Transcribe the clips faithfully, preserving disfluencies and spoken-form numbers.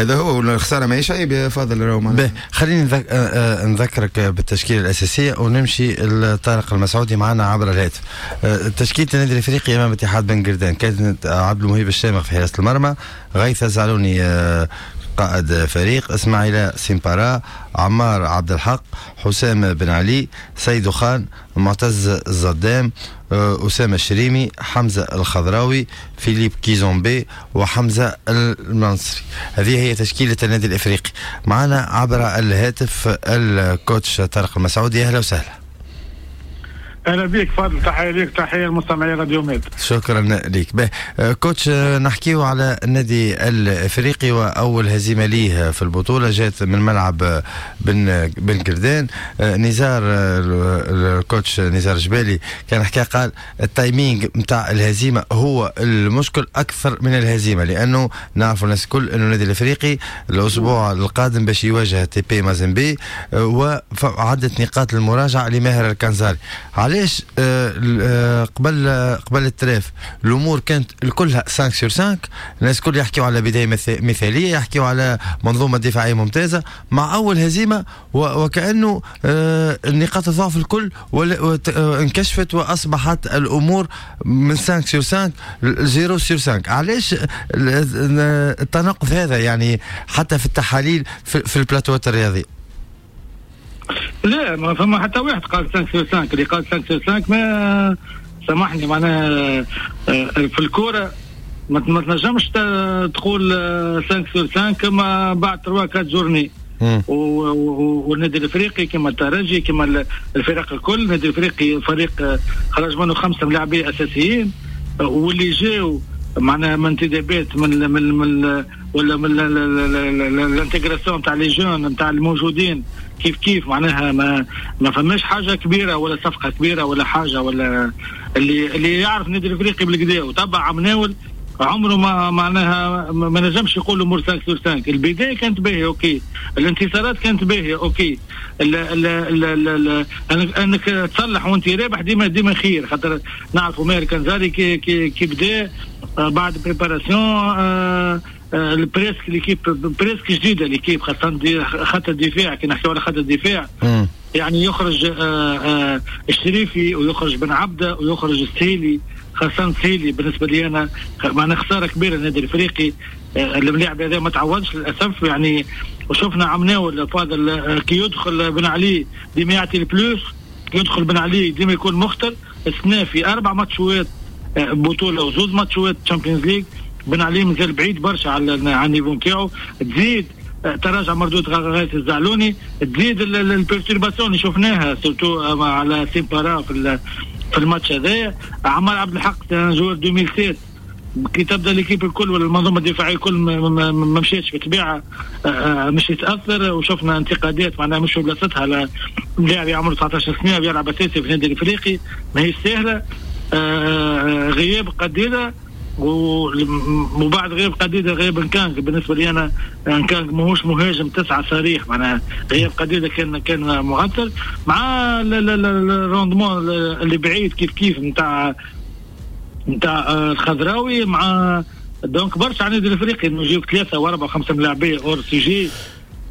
هذا هو، الخسارة ماهيش عيب يا فاضل راهو. خليني نذك... آه، آه، نذكرك بالتشكيله الاساسية ونمشي لطارق المسعودي معنا عبر الهاتف. آه، تشكيله النادي الافريقي امام اتحاد بن قردان كانت عبد المهيب الشامخ في حراسة المرمى، غيث الزعلوني قائد فريق، اسماعيل سيمبارا، عمار عبد الحق، حسام بن علي، سيد خان، معتز الزدام، آه، أسامة الشريمي، حمزة الخضراوي، فيليب كيزومبي وحمزة المنصري. هذه هي تشكيلة النادي الإفريقي. معنا عبر الهاتف ال coach طارق المسعودي، أهلا وسهلا. اهلا بك فاضل، تحية لك، تحية للمستمعين راديو ميد. شكرا لك. به coach، نحكيو على النادي الافريقي واول هزيمة ليه في البطولة جات من ملعب بن بن قردان. نزار، ال coach نزار جبالي كان حكى، قال ال timing نتاع الهزيمة هو المشكل اكثر من الهزيمه، لانه نعرفوا الناس الكل انه النادي الافريقي الاسبوع القادم باش يواجه تي بي مازيمبي وعدة نقاط المراجعة لماهر الكنزاري. علاش آه، آه، قبل قبل ال trêve الامور كانت الكلها خمسة sur خمسة، الناس الكل يحكيوا على بداية مثاليه، يحكيوا على منظومة دفاعية ممتازه، مع اول هزيمة وكانه آه، نقاط الضعف الكل انكشفت واصبحت الامور من خمسة sur خمسة صفر sur خمسة. علاش التناقض هذا يعني حتى في التحاليل في, في البلاتوات الرياضية؟ لا، ما فما حتى واحد قال خمسة sur خمسة. اللي قال خمسة sur خمسة ما سامحني، معناها آه، في الكورة ما تنجمش تقول خمسة sur خمسة كما بعد ثلاثة أربعة journées. والنادي الافريقي كما الترجي كما الفرق الكل، النادي الافريقي فريق آه، خرج منه خمسة ملاعبيه اساسيين، واللي جاوا معناها من انتدابات من من من ولا من l'intégration تاع les jeunes نتاع الموجودين كيف كيف، معناها ما ما فماش حاجة كبيرة ولا صفقة كبيرة ولا حاجة. ولا اللي اللي يعرف النادي الافريقي بالكدا وتبع عمناول عمره ما معناها ما نجمش يقول امور خمسة sur خمسة. البداية كانت باهيه OK، الانتصارات كانت باهيه OK، ال ال ال ال انك تصلح وانت رابح ديما ديما خير، خاطر نعرفوا ماهر كنزاري كي كي, كي بدا آه، بعد préparation آه، آه، presque l'équipe presque جديده، l'équipe خاصة خط الدفاع. كي نحكيو على خط الدفاع يعني يخرج الشريفي ويخرج بن عبده ويخرج السهيلي، خاصة السهيلي بالنسبة لي انا معناها خسارة كبيرة للنادي الافريقي. اللاعب هذا ما تعوضش للاسف يعني. وشفنا عمناول فاضل كي يدخل بن علي ديما يعطي ال plus، يدخل بن علي ديما يكون مخطر. السنة في اربع ماتشات بطوله وزوز ماتشات Champions League بن علي مازال بعيد برشا على على ال niveau نتاعو. تزيد آه، تراجع مردود غاية الزعلوني، تزيد ال perturbation اللي شفناها surtout على سيمبارا في في الماتش هذايا. عمار عبد الحق joueur ألفين وسبعة، كي تبدا l'équipe الكل ولا المنظومة الدفاعية الكل ما مشيتش بالطبيعة آه، آه، مش يتاثر. وشفنا انتقادات معناها مش في بلاصتها على لاعب عمره تسعطاش سنة ويلعب اساسي في النادي الافريقي، ما هي سهله. غياب قديده، وبعد غياب قديده غياب نكانج. بالنسبة لي انا نكانج ماهوش مهاجم تسعة صريح، معناها غياب قديده كان كان مؤثر مع ال rendement اللي بعيد كيف كيف نتاع نتاع الخضراوي مع donc برشا على النادي الافريقي انه يجيو ثلاثة واربعة وخمسة ملاعبيه hors sujet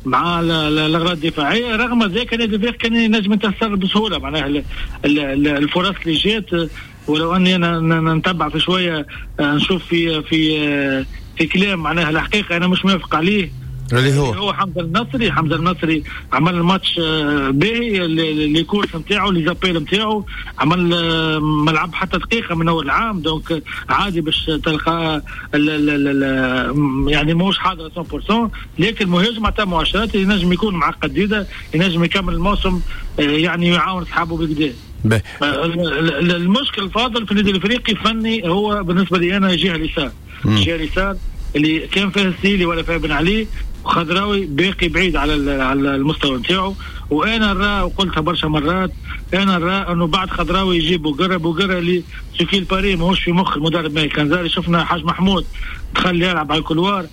مع الاغراض الدفاعيه. رغم ذلك النادي الافريقي كان ينجم ينتصر بسهوله، معناها الفرص اللي جات. ولو اني انا نتبع في شويه، آه، نشوف في في آه، في كلام معناها الحقيقة انا مش موافق عليه. اللي هو هو حمزة النصري. حمزة النصري عمل الماتش آه، باهي، les courses نتاعو، les appels نتاعو، عمل ما لعب حتى دقيقة من اول العام، donc عادي باش تلقى يعني ماهوش حاضر مية في المية، لكن مهاجم عطى مؤشرات ينجم يكون مع قديده، ينجم يكمل الموسم، يعني يعاون اصحابه بالكدا. المشكل الفاضل في النادي الافريقي فني هو بالنسبة لي انا جهة اليسار، الجهة اليسار اللي كان فيها السيلي ولا فيها بن علي، وخضراوي باقي بعيد على على المستوى نتاعو. وانا نرى، وقلتها برشا مرات، انا نرى انه بعد خضراوي يجيب بوقره. بوقره اللي ce qu'il paraît ماهوش في مخ المدرب ماهر كنزاري. شفنا حاج محمود دخل يلعب على ال couloir،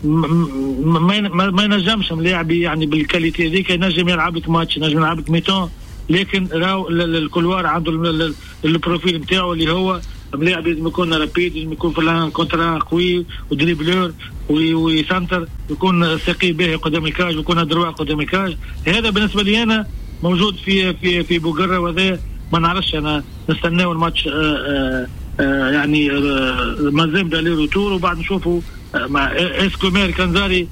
ما ما ينجمش ملاعبي يعني بال qualité هذيك، ينجم يلعب لك ماتش، ينجم يلعب لك mi-temps، لكن راهو ال couloir عنده ال profil نتاعو اللي هو ملاعب لازم يكون rapide، لازم يكون في ال un contre un قوي و dribbleur ويسنتر، يكون ثقي به قدام ال cage ويكون droit قدام ال cage. هذا بالنسبة لي انا موجود في في في بوقره، وهذا ما نعرفش انا نستناو الماتش آآ آآ يعني مازال aller-retour وبعد نشوفوا مع est-ce que ماهر كنزاري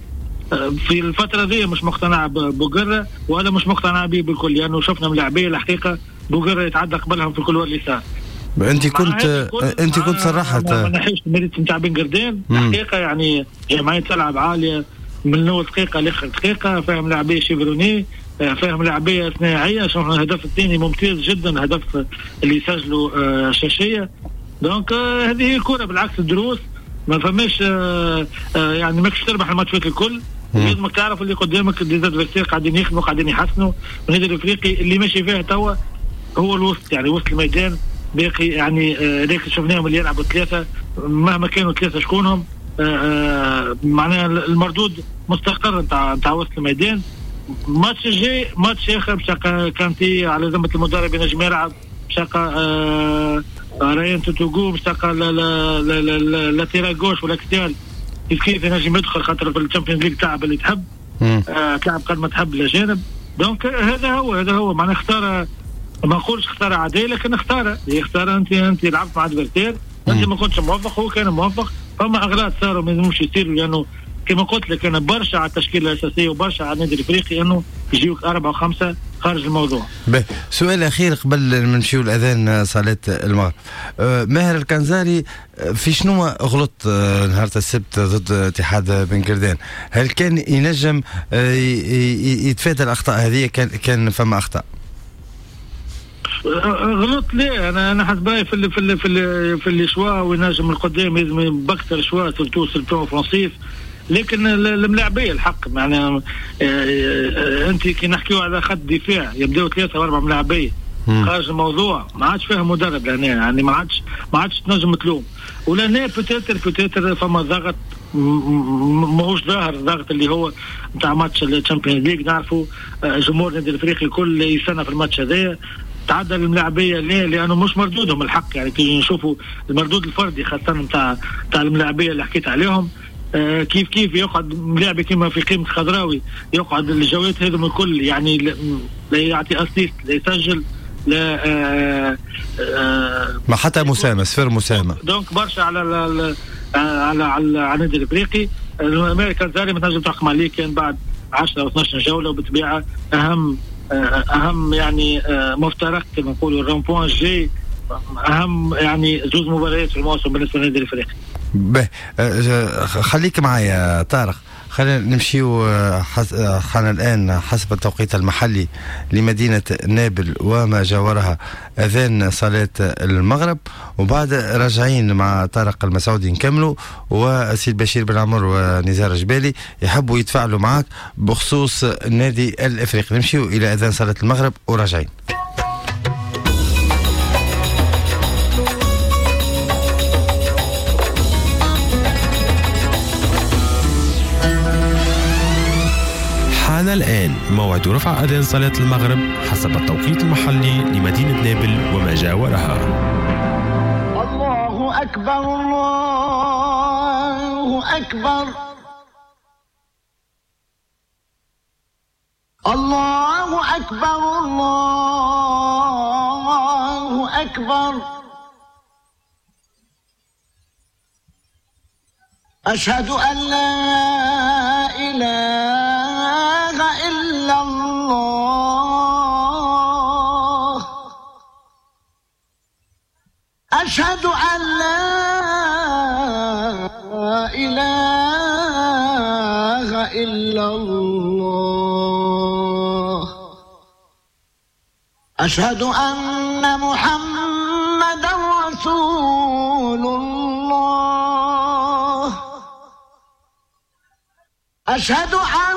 في الفترة دي مش مقتنع ببوقره ولا مش مقتنع به بالكل، لانه يعني شفنا ملاعبيه الحقيقة بوقره يتعدى قبلهم في ال couloir اليسار. انت كنت انت كنت صرحت ما نحيش ال mérite نتاع بن قردان الحقيقة، يعني جمعية تلعب عالية من اول دقيقة لاخر دقيقة، فاهم لاعبيه chevronnés، فاهم لاعبيه صناعية. شفنا الهدف الثاني ممتاز جدا، هدف اللي سجلوا شاشيه. donc هذه هي الكره، بالعكس الدروس ما فماش يعني ماكش تربح الماتشات الكل، لازمك تعرف اللي قدامك des adversaires قاعدين يخدموا قاعدين يحسنوا. النادي الافريقي اللي ماشي فيها توا هو الوسط، يعني وسط الميدان باقي يعني ذاك شفناهم اللي يلعبوا ثلاثة مهما كانوا ثلاثة شكونهم معناها المردود مستقر نتاع نتاع وسط الميدان. الماتش الجاي ماتش اخر باش كانتي على ذمه المدرب ينجم يلعب، باش تلقى ريان توتوغو، باش تلقى latéral gauche ولا axial كيف كيف ينجم يدخل، خاطر في ال Champions League تلعب اللي تحب، آه تلعب قد ما تحب الاجانب. donc هذا هو هذا هو معناها اختار، ما نقولش اختار عادية لكن اختار اختار انت انت لعبت مع adversaire، انت ما كنتش موفق هو كان موفق، فما اغلاط صاروا ما يلزموش يصيروا، لانه كما قلت لك انا برشا على التشكيلة الاساسية وبرشا على النادي الافريقي انه يجيوك اربعة وخمسة خارج الموضوع. به سؤال اخير قبل ما نمشيو الاذان صلاة المغرب، ماهر الكنزاري في شنو غلط نهار السبت ضد اتحاد بن قردان؟ هل كان ينجم يتفادى الاخطاء هذه؟ كان كان فما اخطاء؟ غلط ليه؟ انا انا حسب رايي في ال في ال في ال في les choix وينجم القدام لازم بكثر choix surtout surtout offensif، لكن الملاعبيه الحق معناها انت كي نحكيو على خط دفاع يبداو ثلاثة واربعة ملاعبيه خارج الموضوع، ما عادش فيها مدرب لهنا، يعني ما عادش ما عادش تنجم تلوم ولهنا peut-être peut-être فما ضغط ماهوش ظاهر، الضغط اللي هو نتاع ماتش ال Champions League، نعرفوا جمهور النادي الافريقي الكل يستنى في الماتش هذايا. تعدى الملاعبيه ليه؟ لانه مش مردودهم الحق، يعني كي نشوفوا المردود الفردي خاصة نتاع نتاع الملاعبيه اللي حكيت عليهم، آه كيف كيف يقعد ملاعب كيما في قيمة خضراوي يقعد الجولات هذم الكل، يعني لا يعطي assist لا يسجل لا آه آه ما حتى مساهمة، صفر مساهمة. donc برشا على على على على النادي الافريقي. الامريكان زاري ما تنجم تحكم عليه كان بعد عشرة او اثناش جولة، وبالطبيعه اهم اهم يعني مفترق كما نقولوا ال rond-point جاي، اهم يعني زوج مباريات في الموسم بالنسبة للنادي الافريقي. به خليك معايا طارق، خلينا نمشيو حان الآن حسب التوقيت المحلي لمدينة نابل وما جاورها أذان صلاة المغرب، وبعد راجعين مع طارق المسعودي نكملوا، وسيد بشير بن عمر ونزار جبالي يحبوا يتفاعلوا معك بخصوص النادي الإفريقي. نمشيو إلى أذان صلاة المغرب وراجعين. حان الآن موعد رفع أذان صلاة المغرب حسب التوقيت المحلي لمدينة نابل وما جاورها. الله أكبر الله أكبر الله أكبر الله أكبر، أشهد أن لا إله إلا الله، أشهد أن لا إله إلا الله، أشهد أن محمدا رسول الله، أشهد أن